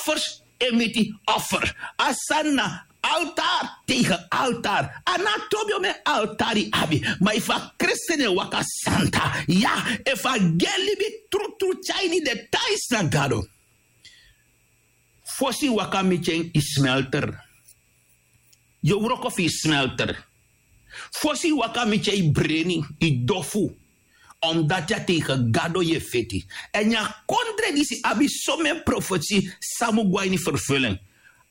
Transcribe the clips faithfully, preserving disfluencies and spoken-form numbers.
offers e miti offer. A sani na altar tegen altar. A no a tobiomen altar yu abi. Ma efu a kristen e waka santa, ya, efu a gi en libi trutru tyari ini den tais na gado. Fosi yu waka miti en yu smelter. Yu o wroko fu yu smelter. Fosi yu waka miti en yu breni, yu dofu. Omdati a tegen gado yu e feti. Èn yu a kondre disi abi somen profesi san mu go na ini ferfelen.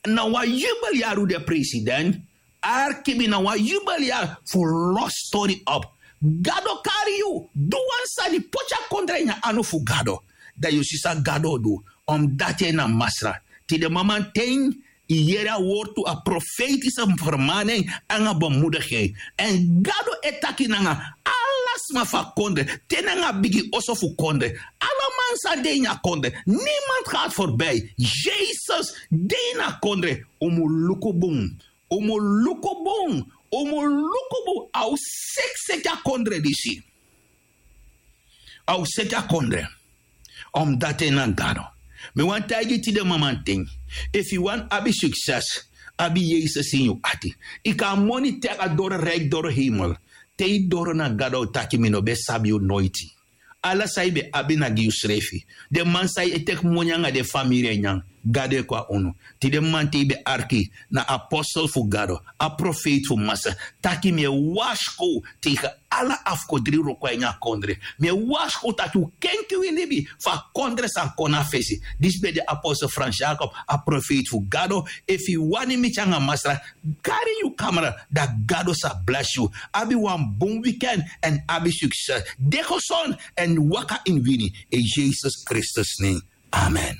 Na wan yubel yari un de president. Arki mi, na wan yubel yari fu los tori op. Gado kari yu du wan sani, poti a kondre ini a anu fu gado. Dan yu o si san gado o du. Omdati en na masra. Tide mamanten yu yere a wortu, a profeitise fermanen nanga bemudiging. Èn gado e taki nanga ala sma fu a kondre, te nanga bigi oso fu kondre, ala man san de ini a kondre. Niemand gaat voorbij. Yesus de ini a kondre. Un mu luku bun. Un mu luku bun. Un mu luku bun. A o seki seki a kondre disi. A o seki a kondre. Omdati en na gado. Mi wani taigi tide mamanten, efu yu wani abi sukses, abi yesus ini yu ati. Yu kan a moni teki a doro riki doro heimel. Te yu doro na gado a o taki mi no ben sabi yu noiti. Ala san yu ben abi na gi yusrefi. Den man san yu e teki moni nanga den famiri e nyan, gado e kon na unu. Tide mamanten yu ben arki na apostel fu gado, a profeiti fu masa, taki mi e warskow tegen ala afkodri wroko na ini a kondre. Mi e warskow taki un kenki wi libi fu a kondre san kon na fesi. Disi ben de apostel frans jakob, a profeiti fu gado. Efu yu wani miti nanga masra, kari yu kamera, dan gado sa blesi yu. Abi wan bun wiken èn abi sukses. De gesond èn waka ini wini. In yesus kristus nen. Amen.